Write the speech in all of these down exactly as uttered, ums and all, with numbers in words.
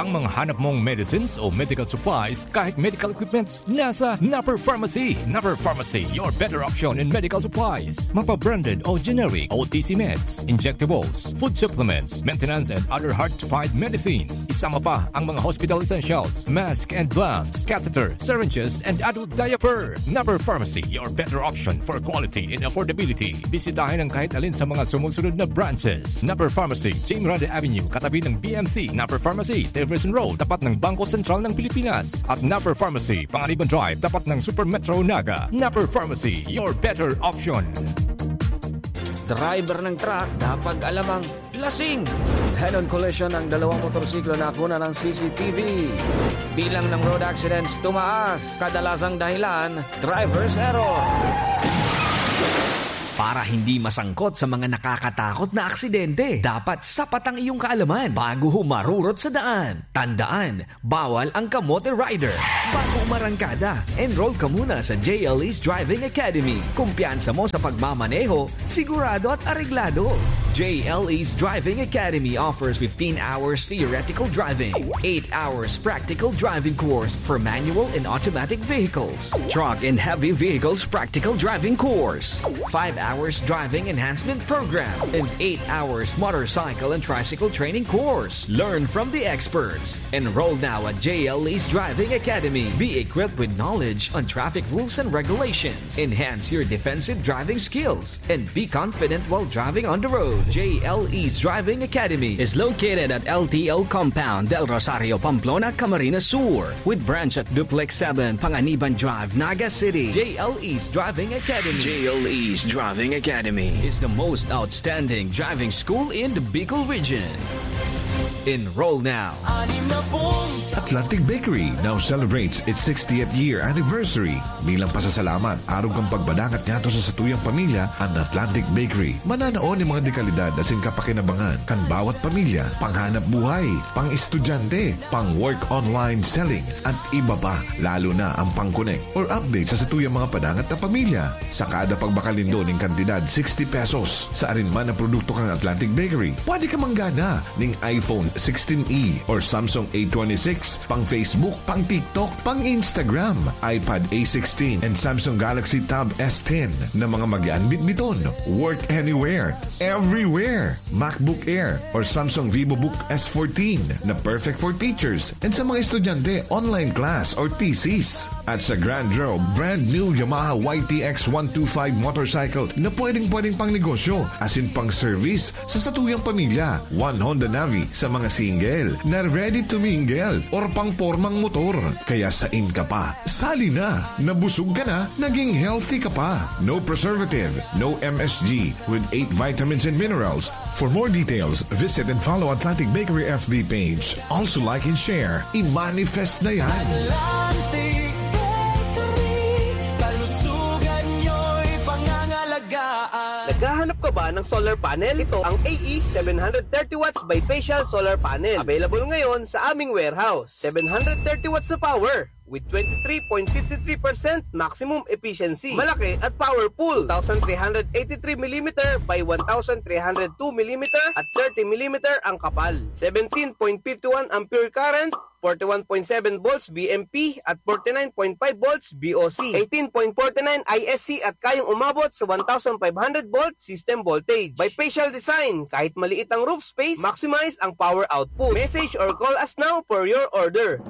Ang mga hanap mong medicines o medical supplies, kahit medical equipments, nasa Napper Pharmacy. Napper Pharmacy, your better option in medical supplies. Mapa-branded o generic, O T C meds, injectables, food supplements, maintenance and other hard-to-find medicines. Isama pa ang mga hospital essentials, mask and gloves, catheter, syringes, and adult diaper. Napper Pharmacy, your better option for quality and affordability. Bisitahin ang kahit alin sa mga sumusunod na branches. Napper Pharmacy, James Rande Avenue, katabi ng B M C. Napper Pharmacy, Jefferson Road, tapat ng Bangko Sentral ng Pilipinas. At Napper Pharmacy, Panganiban Drive, tapat ng Super Metro Naga. Napper Pharmacy, your better option. Driver ng truck, dapat alamang lasing. Head-on collision ng dalawang motorsiklo na kuna ng C C T V. Bilang ng road accidents tumaas. Kadalasang dahilan, driver's error. Para hindi masangkot sa mga nakakatakot na aksidente, dapat sapat ang iyong kaalaman bago humarurot sa daan. Tandaan, bawal ang kamote rider. Bago umarangkada, enroll ka muna sa J L E's Driving Academy. Kumpiyansa mo sa pagmamaneho, sigurado at areglado. J L E's Driving Academy offers fifteen hours theoretical driving, eight hours practical driving course for manual and automatic vehicles, truck and heavy vehicles practical driving course, five hours driving enhancement program, and eight hours motorcycle and tricycle training course. Learn from the experts. Enroll now at J L E's Driving Academy. Be equipped with knowledge on traffic rules and regulations. Enhance your defensive driving skills and be confident while driving on the road. J L E's Driving Academy is located at L T O Compound, Del Rosario, Pamplona, Camarines Sur, with branch at Duplex seven, Panganiban Drive, Naga City. J L E's Driving Academy. J L E's Driving Academy is the most outstanding driving school in the Bicol region. Enroll now. Atlantic Bakery now celebrates its sixtieth year anniversary. Bilang pasasalamat, arog kan pagpadangat ngadto sa satuyang pamilya, an Atlantic Bakery mananao nin mga dekalidad asin kapakinabangan kan bawat pamilya, panghanap buhay, pang-estudyante, pang-work online selling, at iba pa, lalo na ang pang-connect or update sa satuyang mga padangat na pamilya. Sa kada pagbakal nindo nin kantidad sixty pesos sa arin man na produkto kan Atlantic Bakery, pwede ka manggana nin iPhone sixteen E or Samsung A twenty-six, pang Facebook, pang TikTok, pang Instagram, iPad A sixteen, and Samsung Galaxy Tab S ten na mga magian bitbiton. Work anywhere, everywhere. MacBook Air or Samsung VivoBook S fourteen na perfect for teachers and sa mga estudyante, online class or thesis. At sa Grand Draw, brand new Yamaha Y T X one two five motorcycle na pwedeng-pwedeng pang negosyo, asin pang service sa satuyang pamilya. One Honda Navi sa mga single na ready to mingle or pang pormang motor. Kaya sain ka pa? Sali na! Nabusog ka na, naging healthy ka pa. No preservative, no M S G, with eight vitamins and minerals. For more details, visit and follow Atlantic Bakery F B page. Also like and share. I-manifest na yan! Atlantic Bakery, kalusugan nyo'y pangangalagaan. Naghahanap ka ba ng solar panel? Ito ang A E seven hundred thirty watts bifacial solar panel. Available ngayon sa aming warehouse. Seven hundred thirty watts na power with twenty-three point five three percent maximum efficiency. Malaki at powerful. Two thousand three hundred eighty-three millimeter by one thousand three hundred two millimeter at thirty millimeter ang kapal. Seventeen point five one ampere current, forty-one point seven volts V M P at forty-nine point five volts V O C, eighteen point forty-nine I S C at kayang umabot sa one thousand five hundred volt system voltage. Bifacial design, kahit maliit ang roof space, maximize ang power output. Message or call us now for your order.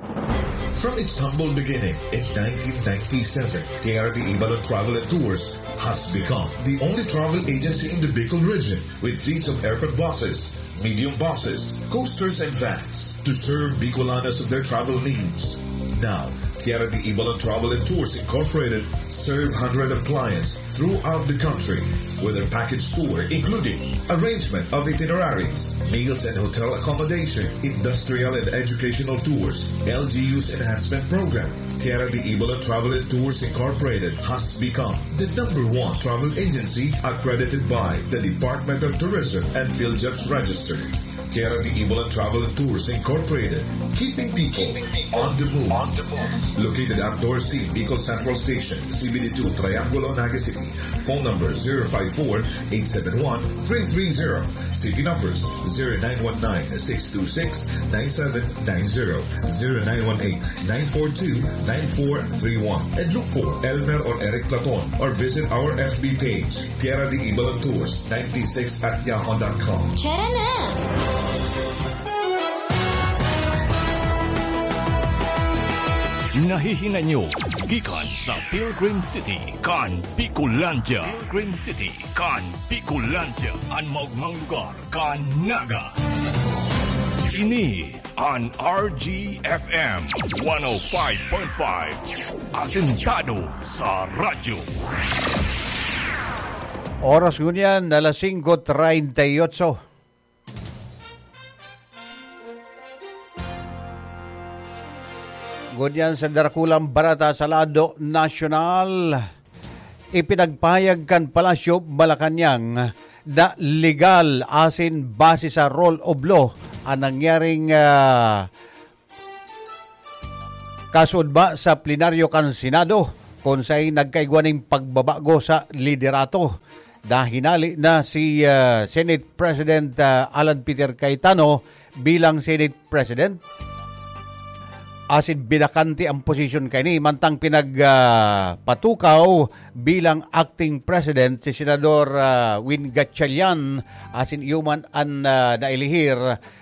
From its humble beginning in nineteen ninety-seven, T R D Ibalon Travel and Tours has become the only travel agency in the Bicol region with fleets of aircon buses, medium buses, coasters, and vans to serve Bicolanos of their travel needs. Now, Tierra de Ibalon Travel and Tours Incorporated serve hundreds of clients throughout the country with their package tour, including arrangement of itineraries, meals and hotel accommodation, industrial and educational tours, L G U's enhancement program. Tierra de Ibalon Travel and Tours Incorporated has become the number one travel agency accredited by the Department of Tourism and PhilJobs Register. Tierra de Ibalon Travel and Tours Incorporated, keeping people on the move. Located at Dorsi, Bicol Central Station, C B D two, Triangulo, Naga City. Phone number zero five four, eight seven one, three three zero. C P numbers zero nine one nine, six two six, nine seven nine zero, zero nine one eight, nine four two, nine four three one. And look for Elmer or Eric Platon or visit our F B page, Tierra de Ibalan Tours ninety-six at yahoo dot com. Tara na! Nahihinay nyo gikan sa Pilgrim City kan Bicolandia. Pilgrim City kan Bicolandia, an maogmang lugar kan Naga. Ini an R G F M one oh five point five, asentado sa radyo. Oras ngunyan, alas singko treinta y ocho. Ngunyan sa darakulang bareta sa lado nasyonal, ipinagpahayag kan Palasyo Malacañang na legal asin base sa rule of law an nangyaring, ah, kaso ba sa plenaryo kan Senado, kun saen nagkaigwa nin pagbabago sa liderato. Nahinali na si, ah, Senate President, ah, Alan Peter Cayetano bilang Senate President. Asin binakante ang posisyon kaini, mantang pinag, ah, patukaw bilang acting president si Senador, ah, Win Gatchalian, asin iyo man an, ah, nailihir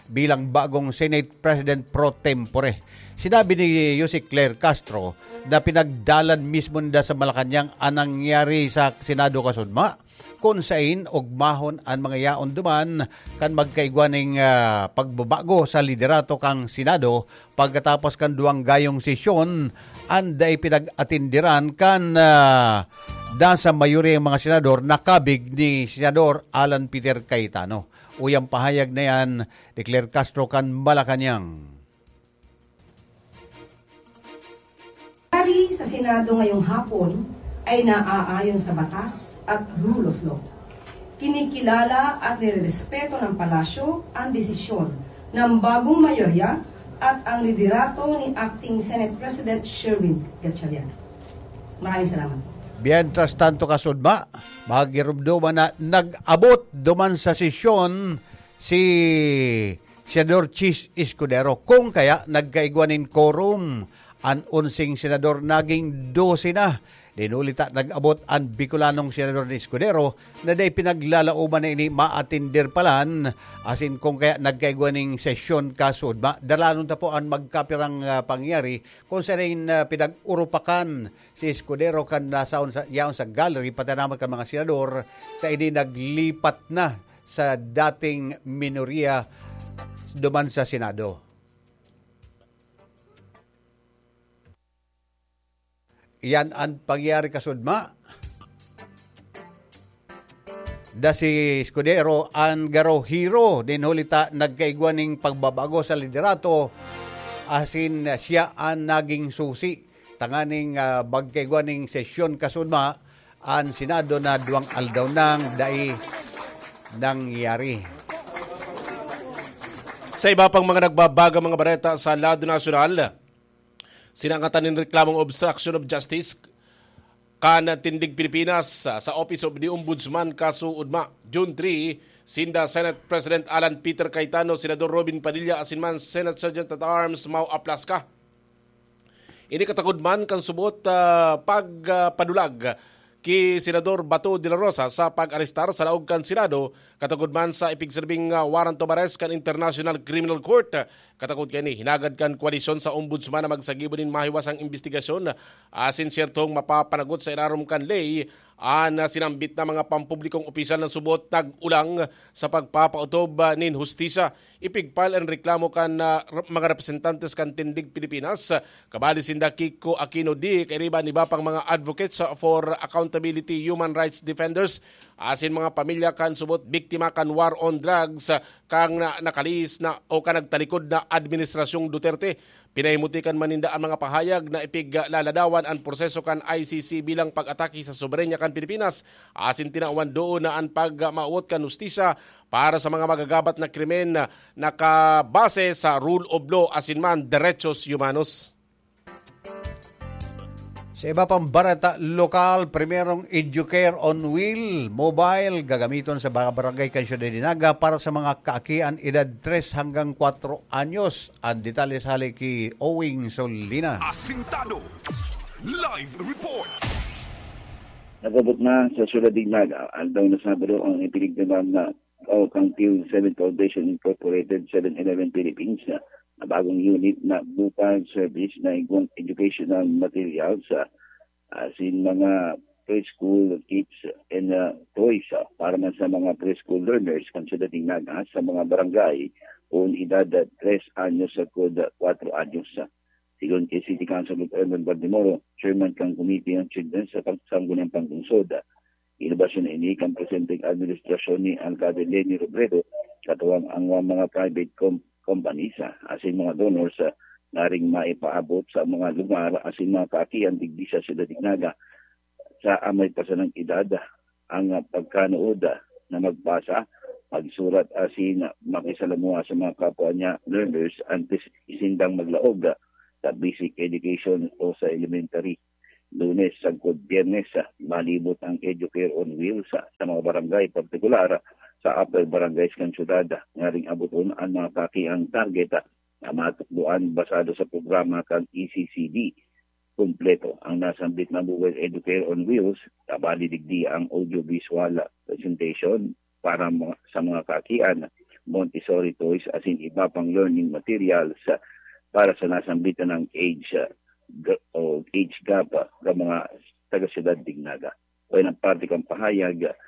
bilang bagong Senate President pro tempore. Sinabi ni Yusek Claire Castro na pinagdalan mismo ninda sa Malacañang an nangyari sa Senado kasudma, kun saen ogmahon an mga yaon duman kan magkaigwa nin, ah, pagbabago sa liderato kan Senado pagkatapos kan duwang gayong sesyon an dai pinag-atenderan kan, ah, nasa mayori ang mga senador na kabig ni Senador Alan Peter Cayetano. Uya an pahayag na yan ni Claire Castro kan Malacañang. Ari sa Senado ngayong hapon ay naaayon sa batas at rule of law. Kinikilala at nirerespeto ng Palasyo ang desisyon ng bagong mayorya at ang liderato ni Acting Senate President Sherwin Gatchalian. Maraming salamat. Mientras tanto, kasudma, magirumduman na nag-abot duman sa sesyon si Senador Chiz Escudero. Kung kaya, nagkaigwa nin quorum an onseng senador, naging dose na. Dinulita nag-abot an Bicolanong senador ni Escudero na dai pinaglalaoman na ini maatender palan, asin kung kaya nagkaigwa ning sesyon kasudma. Dalanon ta po an magkapirang, ah, pangyayari kung saan, ah, pinag-urupakan si Escudero kan nasaon sa, yaon sa gallery, pati naman kan mga senador, ta ini naglipat na sa dating minorya duman sa Senado. Iyan an pangyayari kasudma. Da si Escudero an garo hero nin huli ta nagkaigwa ning pagbabago sa liderato, asin siya an naging susi tanganing, ah, magkaigwa ning sesyon kasudma an Senado na duwang aldaw nang dai nangyari. Sa iba pang mga nagbabagang mga bareta sa lado nasyonal, sinangatan nin reklamong obstruction of justice kan Tindig Pilipinas sa, sa Office of the Ombudsman kaso ugma. June three, sinda Senate President Alan Peter Cayetano, Senador Robin Padilla, asin man Senate Sergeant at Arms Mau Aplasca. Ini katagod man kan subot, ah, pag, ah, padulag ki Senador Bato de la Rosa sa pag-arestar sa laog kan Senado, katagod man sa ipigserbing, ah, warrant of arrest kan International Criminal Court. Katagod kaini, hinagad kan koalisyon sa ombudsman na magsagibo nin mahiwasang imbestigasyon asin siyertong mapapanagot sa ilarom kan ley an, ah, sinambit na mga pampublikong opisyal na subot nag-ulang sa pagpapautob, ah, nin hustisya. Ipig-file an reklamo kan, ah, r-, mga representantes kan Tindig Pilipinas, ah, kabali sinda Kiko Aquino D, kairiba an iba pang mga advocates, ah, for accountability, human rights defenders, asin mga pamilya kan subot biktima kan war on drugs, ah, kan na-, nakalihis na o kan nagtalikod na Administrasyong Duterte. Pinahimuti kan man ninda an mga pahayag na ipiglaladawan an proseso kan I C C bilang pag-atake sa soberanya kan Pilipinas, asin tinawan doon na an pagmawot kan hustisya para sa mga magagabat na krimen na nakabase sa rule of law asin man derechos humanos. Sa iba pang bareta lokal, primerong Educare on Wheel mobile gagamiton sa mga barangay kan Syudad de Naga para sa mga kaakian edad tres hanggang kwatro anyos. Ang detalye hali ki Owing Solina. Asintado. Live report. Nagabot na sa Syudad de Naga, aldaw na Sabado, ang ipinigdamag na o kang Field seven Foundation Incorporated, seven eleven Philippines, na bagong unit na mobile service na igwang educational materials, ah, asin mga preschool kits and, ah, toys, ah, para man sa mga preschool learners kan Syudad de Naga sa mga barangay kun edad, ah, tres anyos sagkod, ah, kwatro anyos. Sigon ki City Councilor Erwin Baldemoro, chairman kan Committee on Children sa Pag-, Sangguniang Panglungsod, inobasyon na ini kan presenteng administrasyon ni Alcalde Leni Robredo, katuwang ang mga private com-, companies, ah, asin mga donors, ah, ngaring maipaabot sa mga lugar asin mga kaakian digdi sa Syudad de Naga sa amay pa sanang edad ang pagkanuod na magbasa, magsurat asin makisalamuha sa mga kapwa niya learners antes isindang maglaog sa basic education o sa elementary. Lunes sagkod Biyernes, malibot ang Educare on Wheels sa, sa mga barangay, partikular sa upper barangays kan syudad, ngaring aboton ang mga kaakiang target na matukdoan basado sa programa kan E C C D. Kumpleto ang nasambit na Mobile Educare on Wheels, tabali digdi ang audiovisual presentation para mga, sa mga kaakian, Montessori toys asin iba pang learning materials para sa nasambit na age, ah, g-, o age gap, ah, sa mga taga-syudad de Naga. O yan ang parte kan pahayag, ah,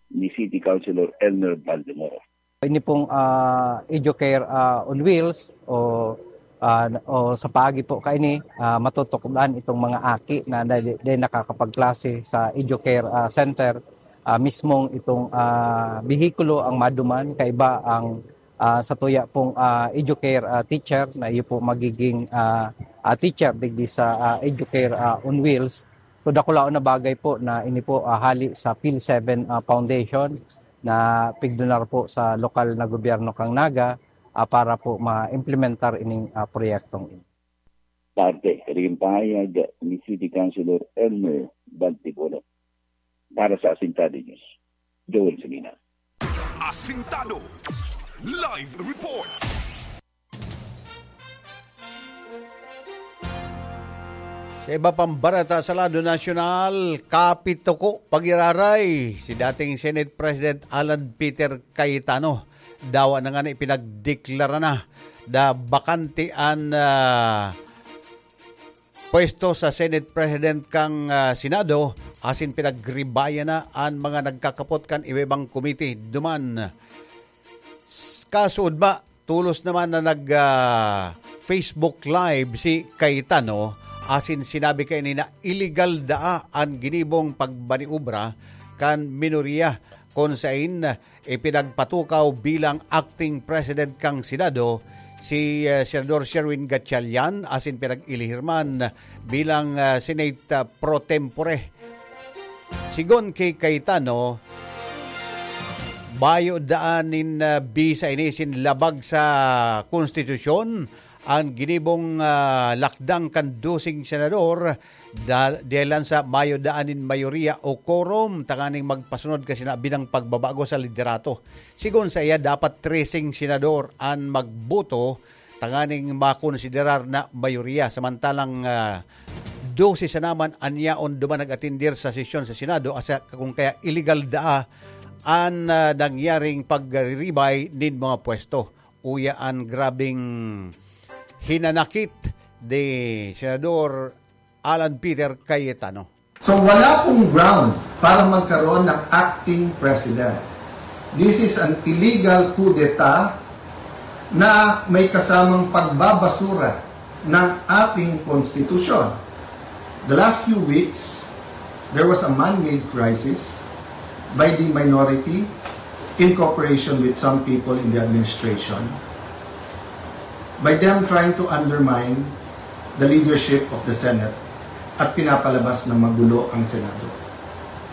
ni City Councilor Elmer Baldemoro. Ini pong, ah, Educare, ah, on Wheels o, ah, o sa paagi po kaini, ah, matutukdoan itong mga aki na dai, dai nakakapagklase sa Educare, ah, Center. Ah, mismong itong, ah, behikulo ang maduman, kaiba ang, ah, sa tuya pong, ah, Educare, ah, teacher na iyo po magiging, ah, ah, teacher digdi sa, ah, Educare, ah, on Wheels. So, dakulaon na bagay po na ini po, ah, hali sa Phil seven, ah, Foundation na pigdonar po sa lokal na gobyerno kan Naga, ah, para po ma-implementar ining, ah, proyektong ini. Parte, kaning pahayag ni City Councilor Elmer Baldemoro. Para sa Asintado News, Joel Salina. Asintado. Live report. Sa iba pang bareta sa lado nasyonal, kapituko pag-iraray si dating Senate President Alan Peter Cayetano. Dawa na ngani ipinagdeklara na na bakante an, ah, pwesto sa Senate President kan, ah, Senado, asin pinagribayan na an mga nagkakapot kan iba-ibang komite duman. S-, kasuodma, tolos naman na nag, ah, Facebook Live si Cayetano, asin sinabi kaini na iligal daa an ginibong pagmaniobra kan minoriya, kun sain ipinagpatukaw bilang acting president kan Senado si, ah, Senador Sherwin Gatchalian, asin pinag-ilihirman bilang, ah, Senate, ah, pro tempore. Sigon ki Cayetano, bayo daan nin, ah, bisa ini asin labag sa konstitusyon an ginibong, ah, lakdang kan doseng senador, da-, dahelan sa mayo daan nin mayoriya o quorum tanganing magpasunod kan sinabing pagbabago sa liderato. Sigon saiya, dapat treseng senador an magboto tanganing makonsiderar na mayoriya, samantalang, ah, dose sana man an yaon duman nag-atender sa sesyon sa Senado, asa kung kaya iligal daa an, ah, nangyaring pagriribay nin mga pwesto. Uya an grabeng hinanakit ni Senador Alan Peter Cayetano. So, wala pong ground para magkaroon ng acting president. This is an illegal coup d'etat na may kasamang pagbabasura ng ating konstitusyon. The last few weeks, there was a man-made crisis by the minority in cooperation with some people in the administration, by them trying to undermine the leadership of the Senate at pinapalabas na magulo ang Senado.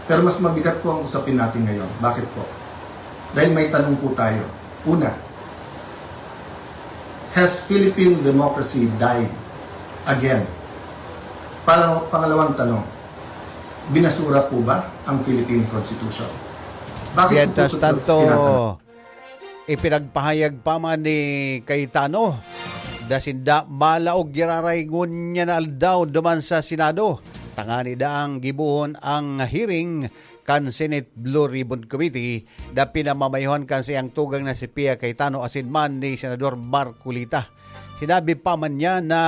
Pero mas mabigat po ang usapin natin ngayon. Bakit po? Dahil may tanong po tayo. Una, has Philippine democracy died again? Pala-, pangalawang tanong, binasura po ba ang Philippine Constitution? Bakit po Mientras po ito tanto, tinatanong? Ipinagpahayag pa man ni Cayetano, da sinda malaog giraray ngunyan na aldaw duman sa Senado. Tangani daang gibohon ang hearing kan Senate Blue Ribbon Committee na pinamamayohan kan saiyang tugang na si Pia Cayetano asin man ni Senador Marcoleta. Sinabi pa man niya na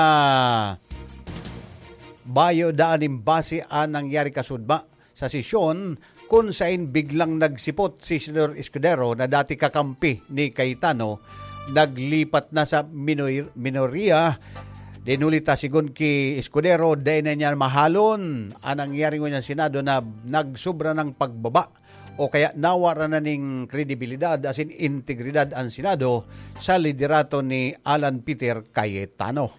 bayo daan nin base an nangyari kasudma sa sesyon kun sain biglang nagsipot si Senador Escudero na dati kakampi ni Cayetano. Naglipat na sa minor-, minorya. Dinulita sigon ki Escudero, dai na niya mahalon an nangyari ngunyan Senado na nagsubra ng pagbaba o kaya nawara na ning kredibilidad asin integridad an Senado sa liderato ni Alan Peter Cayetano.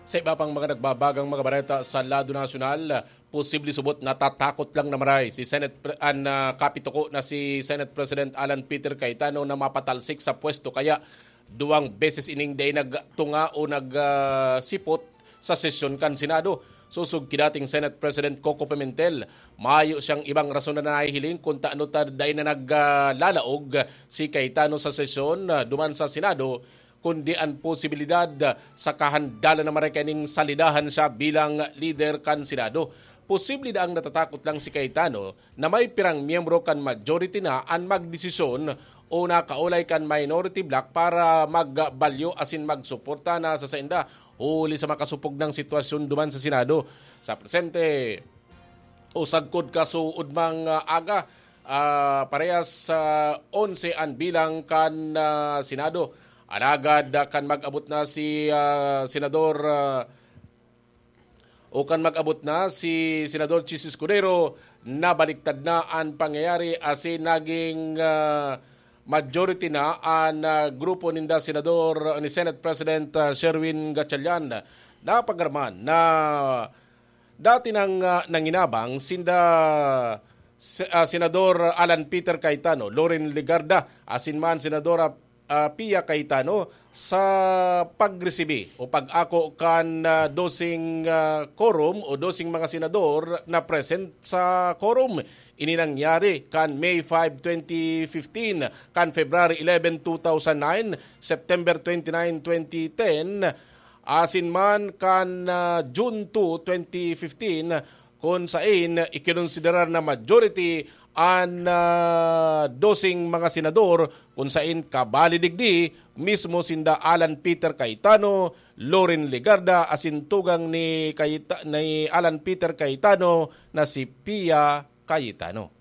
Sa iba pang mga nagbabagang mga bareta sa lado nasyonal, posible subot natatakot lang na maray si Senate Pre-, an, ah, kapituko na si Senate President Alan Peter Cayetano na mapatalsik sa pwesto kaya duwang beses ining dai nagtunga o nag, ah, sipot sa sesyon kan Senado. Sosog ki dating Senate President Coco Pimentel, mayo siyang ibang rason na nahihiling kun tano ta dai na nag, ah, lalaog si Cayetano sa sesyon, ah, duman sa Senado, kundi an posibilidad, ah, sa kahandalan na maray kaining salidahan siya bilang lider kan Senado. Posible daang natatakot lang si Cayetano na may pirang miyembro kan majority na an magdesisyon o nakaulay kan minority bloc para magbalyo asin magsuporta na sa sainda huli sa makasupog nang sitwasyon duman sa Senado. Sa presente, o sagkod kasuodmang, ah, aga, ah, parehas sa onse an bilang kan, ah, Senado. Alagad, ah, kan mag-abot na si, ah, Senador, ah, o kan mag-abot na si Senador Chiz Escudero, nabaliktad na an pangyayari asin naging, ah, majority na an, ah, grupo ninda Senador ni Senate President, ah, Sherwin Gatchalian. Napagarman na dati nang, ah, nanginabang sinda se-, ah, Senador Alan Peter Cayetano, Loren Legarda, asin man Senadora, ah, Pia Cayetano sa pagresibi o pag-ako kan, ah, doseng, ah, quorum o doseng mga senador na present sa quorum. Ini nangyari kan May five, twenty fifteen, kan February eleven, two thousand nine, September twenty-nine, twenty ten, asin man kan, ah, June two, twenty fifteen, kun sain ikinonsiderar na majority an, ah, doseng mga senador, kun sain kabali digdi mismo sinda Alan Peter Cayetano, Loren Legarda, asin tugang ni Cayeta-, ni Alan Peter Cayetano na si Pia Cayetano.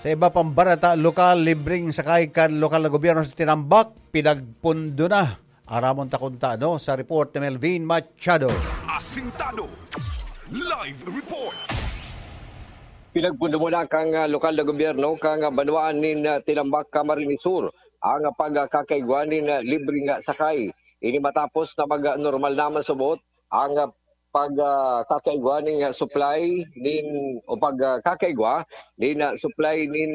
Sa iba pang bareta lokal, libreng sakay kan lokal na gobyerno sa Tinambac, pinagpundo na. Aramon ta kun tano sa report ni Melvin Machado. Asintado. Live report. Pinagpundo mo na kan, ah, lokal na gobyerno kan, ah, banwaan nin, ah, Tinambac, Camarines Sur, ang, ah, pagkakaigwa nin, ah, libreng, ah, sakay. Ini matapos na mag, ah, normal naman subot ang, ah, pag, ah, kakaigwa nin, ah, supply nin, o pag, ah, kakaigwa nin, ah, supply nin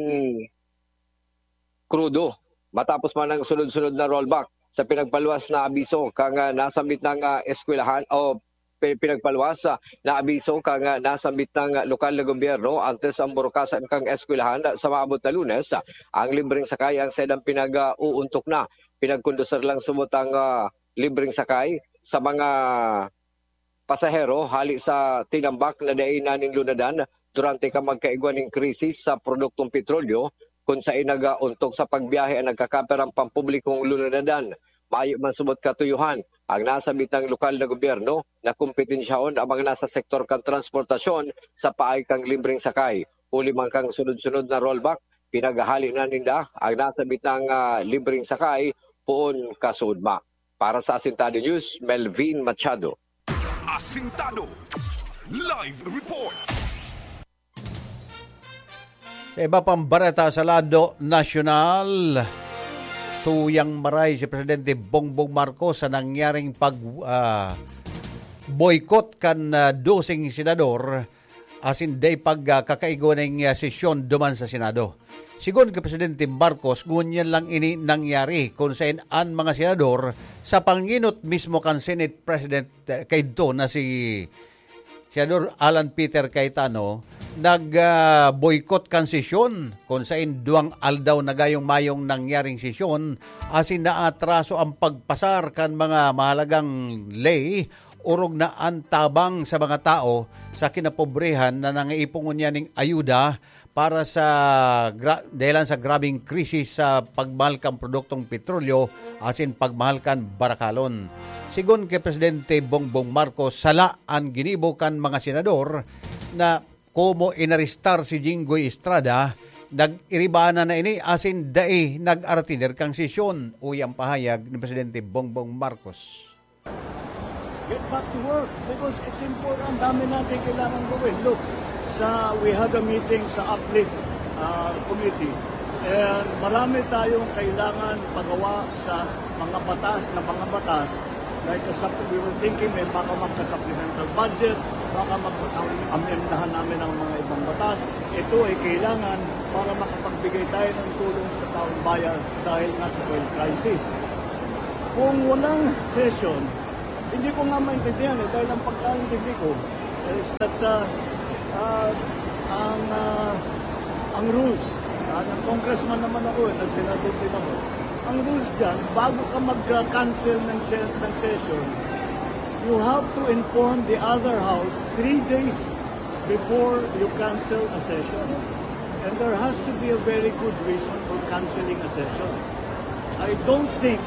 krudo. Matapos man ang sunod-sunod na rollback sa pinagpaluwas na abiso kan, ah, nasambit na, ah, eskwelahan o pi-, pinagpaluwas, ah, na abiso kan, ah, nasambit na, ah, lokal na gobyerno antes ang burukasan kan eskwelahan sa maabot na Lunes, ah, ang libreng sakay ang saindang pinag-uuntok na. Pinagkondusir lang subot ang, ah, libreng sakay sa mga pasahero hali sa Tinambac na dai na nin lunadan durante kan magkaigwa nin krisis sa produktong petrolyo, kun sain nag-auntok sa pagbiyahe ang nagkakaperang pampublikong lunadan. Mayo man subot katuyohan ang nasambit na lokal na gobyerno na kompetensyahon ang mga nasa sektor kan transportasyon sa paagi kan libreng sakay. Huli man kan sunod-sunod na rollback, pinaghahali na ninda ang nasambit na, ah, libreng sakay poon kasuodma. Para sa Asintado News, Melvin Machado. Asintado. Live report. Sa iba pang bareta sa lado nasyonal, suyang maray si Presidente Bongbong Marcos sa nangyaring pag, ah, boycott kan, ah, doseng senador asin dai pag, ah, kakaigwa ning, ah, sesyon duman sa Senado. Sigon ki Presidente Marcos, ngunyan lang ini nangyari kun saen an mga senador sa pangenot mismo kan Senate President, eh, kaidto na si Senador Alan Peter Cayetano, nag, ah, boycott kan sesyon kun saen duwang aldaw na gayong mayong nangyaring sesyon asin naatraso ang pagpasar kan mga mahalagang ley orog na antabang sa mga tao sa kinapobrehan na nangaipon ngunyan ning ayuda para sa gra-, dahelan sa grabeng krisis sa pagmahal kan produktong petrolyo asin pagmahal kan barakalon. Sigon ki Presidente Bongbong Marcos, sala an ginibo kan mga senador na komo inarestar si Jinggoy Estrada, nag-iribanan na ini asin dai nag-aratider kan sesyon, uya an pahayag ni Presidente Bongbong Marcos. Get back to work because it's important. Dami natin kailangan gawin. Look, sa, we had a meeting sa Uplift, ah, Committee. And marami tayong kailangan pagawa sa mga batas na mga batas. Like, kasap-, we were thinking may baka magka-supplemental budget, baka magpatawag, amyendahan namin ang mga ibang batas. Ito ay kailangan para makapagbigay tayo ng tulong sa taong bayan dahil nga sa oil crisis. Kung walang session, hindi ko nga maintindihan eh, dahil ang pagkaintindi ko is that, ah, ah, ang, ah, ang rules, ah, ng congressman naman ako eh, nagsenador din ako. Ang rules dyan, bago ka mag-cancel ng, se- ng session, you have to inform the other house three days before you cancel a session. And there has to be a very good reason for canceling a session. I don't think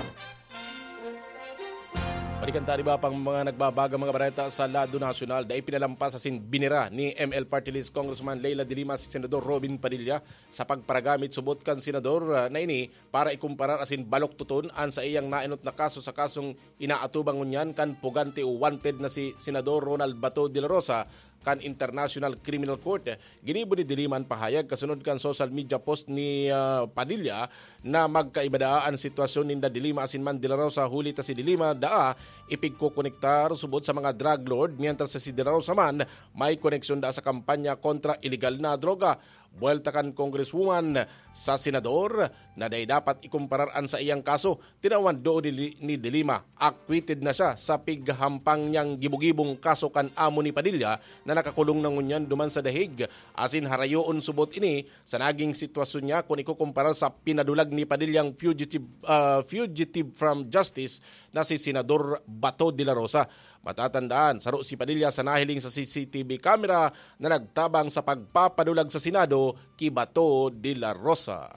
Balikan ta iba pang mga nagbabagang mga bareta sa lado nasyonal. Dai pinalampas asin binira ni M L Party List Congressman Leila de Lima si Senador Robin Padilla sa pagparagamit subot kan senador, ah, na ini para ikumparar asin baluktoton an saiyang naenot na kaso sa kasong inaatubang ngunyan kan pugante o wanted na si Senador Ronald Bato de la Rosa kan International Criminal Court. Ginibo ni De Lima an pahayag kasunod kan social media post ni, ah, Padilla na magkaiba daa an sitwasyon ninda De Lima asin man De La Rosa, huli ta si De Lima daa ipigkokonektar subot sa mga drug lord, mientras si De La Rosa man may koneksyon daa sa kampanya kontra ilegal na droga. Buwelta kan congresswoman sa senador na dai dapat ikumparar an saiyang kaso, tinawan doon ni, ni De Lima, acquitted na siya sa pighahampang niyang gibo-gibong kaso kan amo ni Padilla na nakakulong na ngunyan duman sa The Hague, asin harayoon subot ini sa naging sitwasyon niya kun ikukumpara sa pinadulag ni Padillang fugitive, ah, fugitive from justice na si Senador Bato de la Rosa. Matatandaan, saro si Padilla sa nahiling sa C C T V camera na nagtabang sa pagpapadulag sa Senado ki Bato de la Rosa.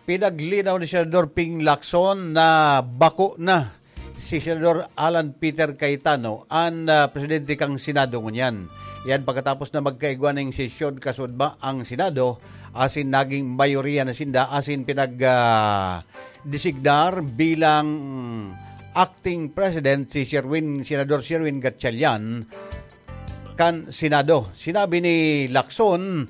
Pinaglinaw ni Senador Ping Lacson na bako na si Senador Alan Peter Cayetano, an, ah, presidente kan Senado ngunyan. Yan pagkatapos na magkaigwa ning sesyon kasudma ang Senado, asin naging mayoriya na sinda, asin pinag, ah, designar bilang acting president si Sherwin, Senador Sherwin Gatchalian kan Senado. Sinabi ni Lacson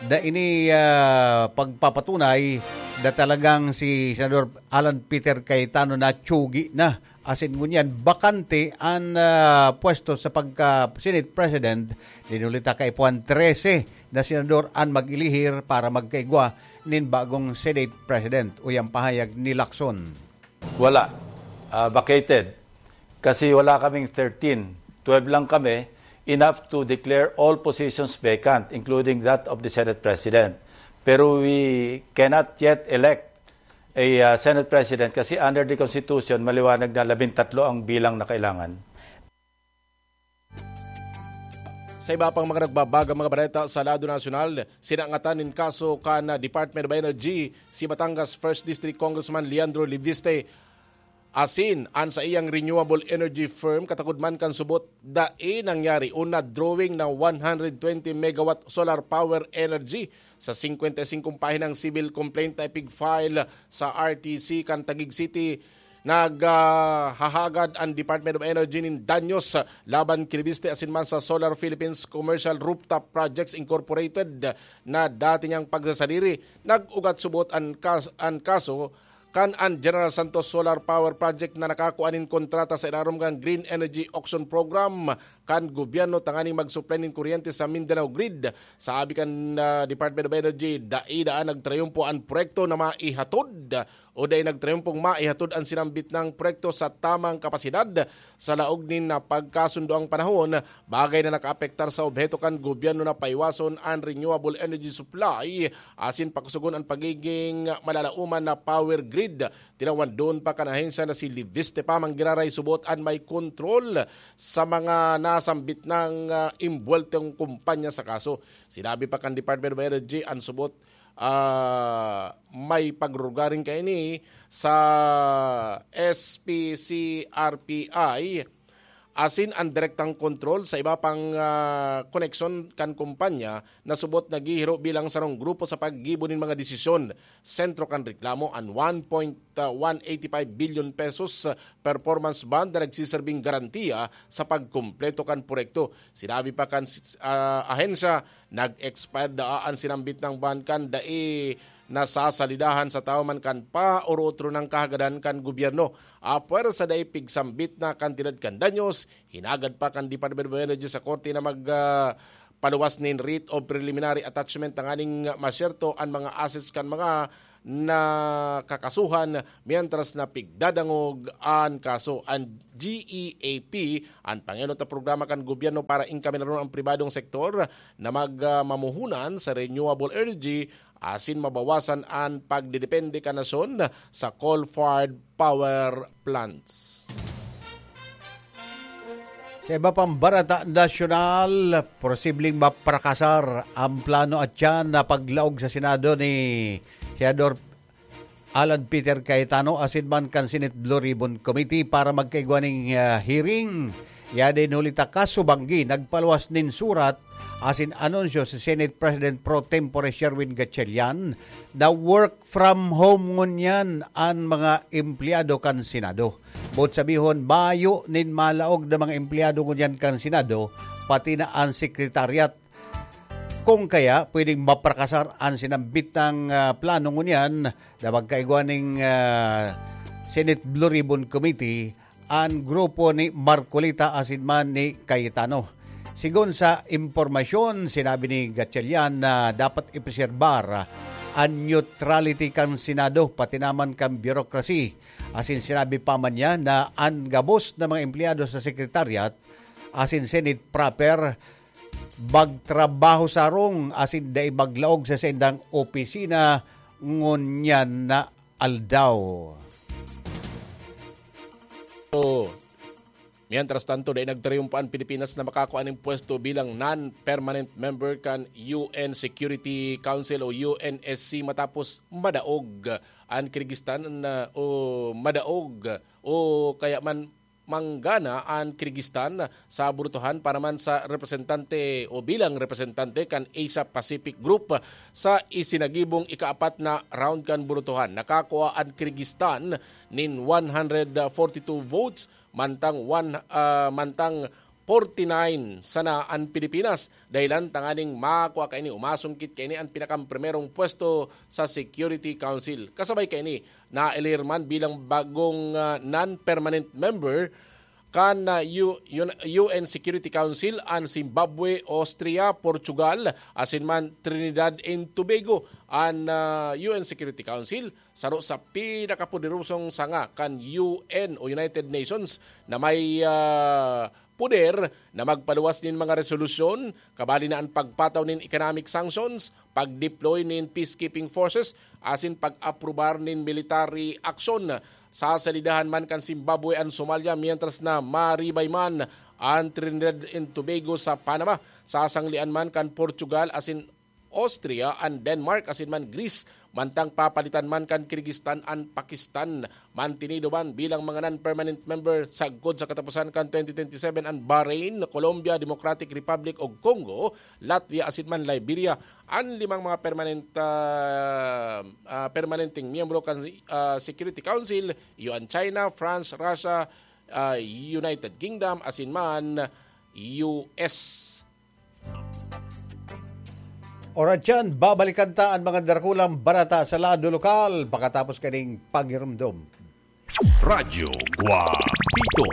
na ini, ah, pagpapatunay na talagang si Senador Alan Peter Cayetano na tsugi na. Asin ngunyan, bakante an, ah, pwesto sa pagka-Senate President. Dinulita kaipuhan trese na senador an mag-ilihir para magkaigwa nin bagong Senate President. Uyan pahayag ni Lacson. Wala. Ah, vacated. Kasi wala kaming thirteen. Twelve lang kami, enough to declare all positions vacant, including that of the Senate President. Pero we cannot yet elect a, ah, Senate President kasi under the Constitution, maliwanag na labintatlo ang bilang na kailangan. Sa iba pang mga nagbabagang mga bareta sa lado nasyonal, sinangatan nin kaso kan Department of Energy si Batangas First District Congressman Leandro Leviste asin an saiyang renewable energy firm, katagod man kan subot, dai nangyari o na-drawing na one hundred twenty megawatt solar power energy sa singkwenta y singkong pahinang civil complaint na ipig-file sa R T C kan Taguig City. Naghahagad an Department of Energy nin danyos laban ki Leviste asin man sa Solar Philippines Commercial Rooftop Projects Incorporated na dati niyang pagsasadiri. Nag-ugat subot an kas-, an kaso kan an General Santos Solar Power Project na nakakua nin kontrata sa ilarom kan Green Energy Auction Program kan gobyerno tanganing mag-supply nin kuryente sa Mindanao Grid. Sabi kan, ah, Department of Energy, dai daan nagtrayumpo an proyekto na maihatod o dai nagtrayumpong maihatod an sinambit nang proyekto sa tamang kapasidad sa laog nin napagkasundoang panahon, bagay na nakaapektar sa obheto kan gobyerno na paiwason an renewable energy supply asin pakusugon an pagiging malalaoman na power grid. Tinawandon pa kan ahensya na si Liviste pa manggiraray subot an may kontrol sa mga nasambit nang, ah, imbuweltong kumpanya sa kaso. Sinabi pa kan Department of Energy an subot, ah, may pagrurugaring kaini sa S P C R P I asin an direktang kontrol sa iba pang, ah, koneksyon kan kumpanya na subot naghihiro bilang sarong grupo sa paggibo nin mga desisyon. Sentro kan reklamo an one point one eight five billion pesos performance bond na nagsiserbing garantiya sa pagkumpleto kan proyekto. Sinabi pa kan, ah, ahensya, nag-expire daa an sinambit nang bond kan dai nasasalidahan sa tawo man kan paorotro nang kahagadan kan gobyerno. Apwera sa dai pigsambit na kantidad kan danyos, hinagad pa kan Department of Energy sa korte na mag, ah, paluwas nin writ of preliminary attachment tanganing masyerto an mga assets kan mga nakakasuhan, mientras na pigdadangog an kaso. An G E A P, an pangenot na programa kan gobyerno para engkaminaron ang pribadong sektor na mag, ah, mamuhunan sa renewable energy asin mabawasan an pagdedepende kan nasyon sa coal-fired power plants. Sa iba pang barata nasyonal, posibleng maprakasar ang plano at yan na paglaog sa Senado ni Senador Alan Peter Cayetano asin man kan Senate Blue Ribbon Committee para magkaigwa ning, ah, hearing. Yadin huli ta kasubanggi, nagpaluwas nin surat asin anunsyo si Senate President pro tempore Sherwin Gatchalian na work from home ngunyan an mga empleyado kan Senado. Boot sabihon, mayo nin malaog na mga empleyado ngunyan kan Senado, pati na an Secretariat. Kung kaya, pwedeng maprakasar an sinambit nang, ah, plano ngunyan na magkaigwa ning, ah, Senate Blue Ribbon Committee an grupo ni Marcoleta asin man ni Cayetano. Sigon sa impormasyon, sinabi ni Gatchalian na dapat ipreserbar an neutrality kan Senado, pati naman kan bureaucracy. Asin sinabi pa man niya na an gabos na mga empleyado sa Secretariat asin Senate proper magtrabaho sarong asin dai maglaog sa saindang opisina ngunyan na aldaw. So, mientras tanto, dai nagtariyumpa an Pilipinas na makakua nin pwesto bilang non-permanent member kan U N Security Council o U N S C matapos madaog an Kyrgyzstan na, o madaog o kaya man manggana an Kyrgyzstan sa burutohan para man sa representante o bilang representante kan Asia Pacific Group sa isinagibong ikaapat na round kan burutohan. Nakakua an Kyrgyzstan nin one hundred forty-two votes, mantang one, ah, mantang forty-nine sana an Pilipinas, dahilan tanganing makua kaini o masungkit kaini an pinakang primerong pwesto sa Security Council. Kasabay kaini, naelir man bilang bagong, ah, non-permanent member kan, ah, U-, yun, U N Security Council an Zimbabwe, Austria, Portugal, asin man Trinidad and Tobago. An, ah, U N Security Council, saro sa pinakapoderosong sanga kan U N o United Nations na may, ah, poder na magpaluwas nin mga resolusyon, kabali na an pagpataw nin economic sanctions, pag-deploy nin peacekeeping forces, asin pag-aprobar nin military action. Sasalidahan man kan Zimbabwe an Somalia, mientras na maribay man an Trinidad and Tobago sa Panama. Sasanglean man kan Portugal asin Austria an Denmark asin man Greece, mantang papalitan man kan Kyrgyzstan an Pakistan. Mantinido man bilang mga non-permanent member sagkod sa kataposan kan twenty twenty-seven an Bahrain, Colombia, Democratic Republic of Congo, Latvia asin man Liberia. An limang mga permanent, ah, ah, permanenteng miyembro kan, ah, Security Council, iyo an China, France, Russia, ah, United Kingdom asin man U S. Oras yan, babalikan ta an mga darakulang barata sa lado lokal pakatapos kaning pagirumdom. Radyo Guapito.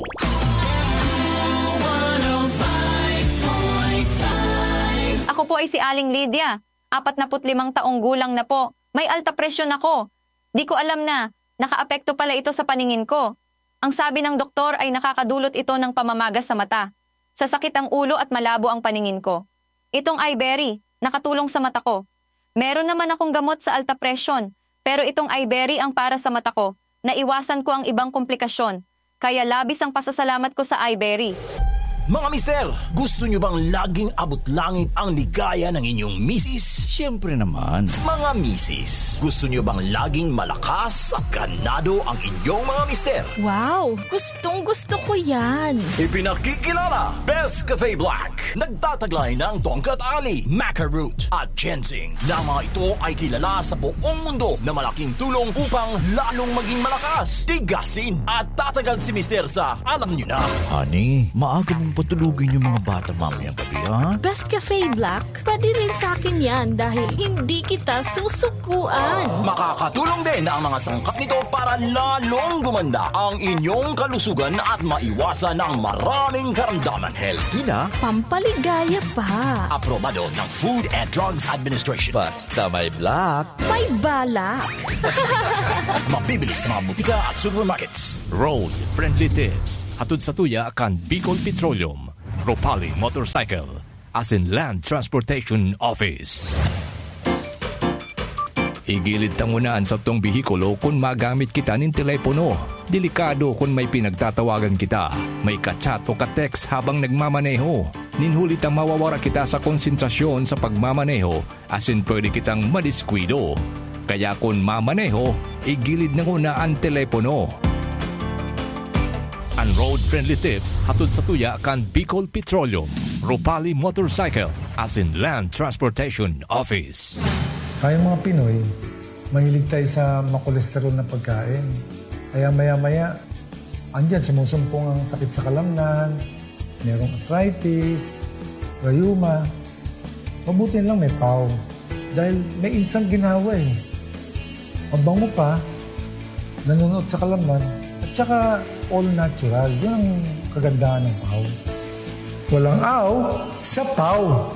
po ay si Aling Lydia, apat na put limang taong gulang na po. May alta presyon ako. Di ko alam na nakaapekto pala ito sa paningin ko. Ang sabi ng doktor ay nakakadulot ito ng pamamaga sa mata, sasakit ang ulo at malabo ang paningin ko. Itong Iberry, nakatulong sa mata ko. Meron naman akong gamot sa alta presyon, pero itong Iberry ang para sa mata ko. Naiwasan ko ang ibang komplikasyon, kaya labis ang pasasalamat ko sa Iberry. Mga mister, gusto nyo bang laging abot langit ang ligaya ng inyong misis? Siyempre naman. Mga misis, gusto nyo bang laging malakas at ganado ang inyong mga mister? Wow! Gustong gusto ko yan! Ipinakikilala, Best Cafe Black. Nagtataglay ng tongkat ali, maca root, at ginseng, na mga ito ay kilala sa buong mundo na malaking tulong upang lalong maging malakas, tigasin, at tatagal si mister sa alam nyo na. Honey, maaga mong patulugin yung mga bata mamayang gabi, ha? Best Cafe Black, pwede rin sa akin yan dahil hindi kita susukuan. Makakatulong din ang mga sangkap nito para lalong gumanda ang inyong kalusugan at maiwasan ang maraming karamdaman. Healthy na, Pampaligaya pa. Aprobado ng Food and Drugs Administration. Basta may black. May balak. Mabibili sa mga butika at supermarkets. Road Friendly Tips. Hatod sa tuya kan Bicol Petroleum, Ropali Motorcycle, asin Land Transportation Office. Igilid ta nguna an satong behikulo kun magamit kita nin telepono. Delikado kun may pinagtatawagan kita, may ka-chat o ka-text habang nagmamaneho. Nin huli ta mawawara kita sa konsentrasyon sa pagmamaneho asin pwede kitang madiskuido. Kaya kun mamaneho, igilid na nguna an telepono. An road-friendly tips hatod sa tuya kan Bicol Petroleum, Ropali Motorcycle, asin Land Transportation Office. Tayong mga Pinoy, mahilig tayo sa makolesterol na pagkain. Kaya maya-maya, andyan sumusumpong ang sakit sa kalamnan, merong arthritis, rayuma. Mabuti lang may pau. Dahil may instant ginawa eh. Mabango pa, nanunuot sa kalamnan, at saka all natural. Yun ang kagandahan ng pau. Walang aw sa pau.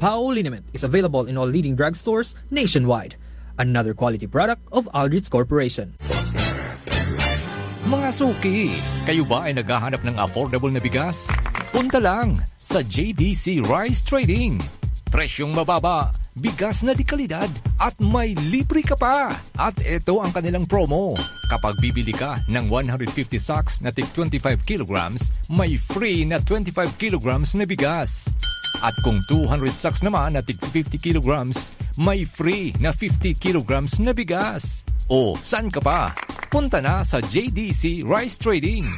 Pau liniment is available in all leading drugstores nationwide. Another quality product of Aldrich Corporation. Mga suki, kayo ba ay naghahanap ng affordable na bigas? Punta lang sa J D C Rice Trading. Presyong mababa, bigas na de kalidad, at may libre ka pa! At ito ang kanilang promo. Kapag bibili ka ng one hundred fifty sacks na tig twenty-five kilograms, may free na twenty-five kilograms na bigas. At kung two hundred sacks naman na tig fifty kilograms, may free na fifty kilograms na bigas. O, saan ka pa? Punta na sa J D C Rice Trading.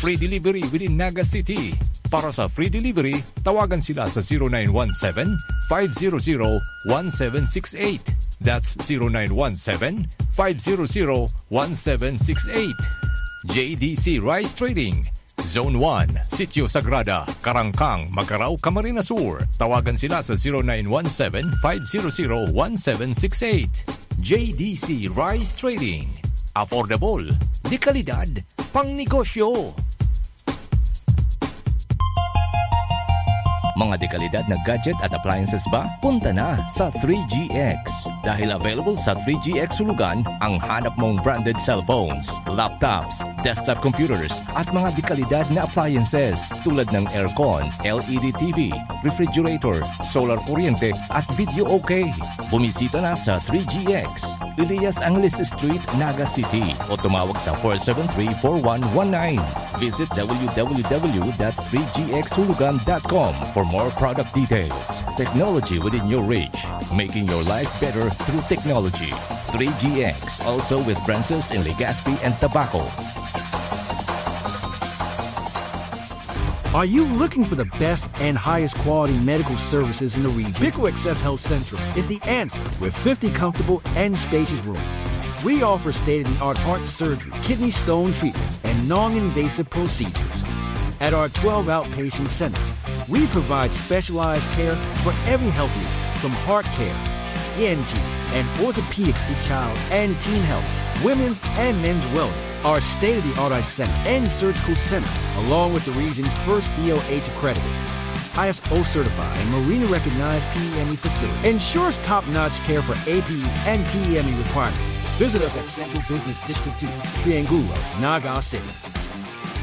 Free delivery within Naga City. Para sa free delivery, tawagan sila sa zero nine one seven, five zero zero, one seven six eight. That's zero nine one seven, five zero zero, one seven six eight. J D C Rice Trading, Zone one, Sitio Sagrada, Karangkang, Magarao, Camarines Sur. Tawagan sila sa zero nine one seven, five zero zero, one seven six eight. J D C Rice Trading. Affordable, de kalidad, pangnegosyo. Mga dekalidad na gadget at appliances ba? Punta na sa three G X. Dahil available sa three G X Hulugan ang hanap mong branded cellphones, laptops, desktop computers, at mga dekalidad na appliances tulad ng aircon, L E D T V, refrigerator, solar kuryente, at video okay. Bumisita na sa three G X, Elias Angeles Street, Naga City, o tumawag sa four seven three, four one one nine. Visit w w w dot three g x hulugan dot com for more product details. Technology within your reach, making your life better through technology. Three G X, also with branches in Legazpi and Tabaco. Are you looking for the best and highest quality medical services in the region? Pico Access Health Central is the answer with fifty comfortable and spacious rooms. We offer state of the art heart surgery, kidney stone treatments, and non invasive procedures. At our twelve outpatient centers, we provide specialized care for every health need, from heart care, E N T, and orthopedics to child and teen health. women's and men's wellness. Our state-of-the-art eye center and surgical center, along with the region's first D O H accredited, I S O certified, and Marina recognized P M E facility, ensures top-notch care for A P E and P M E requirements. Visit us at Central Business District two, Triangulo, Naga City.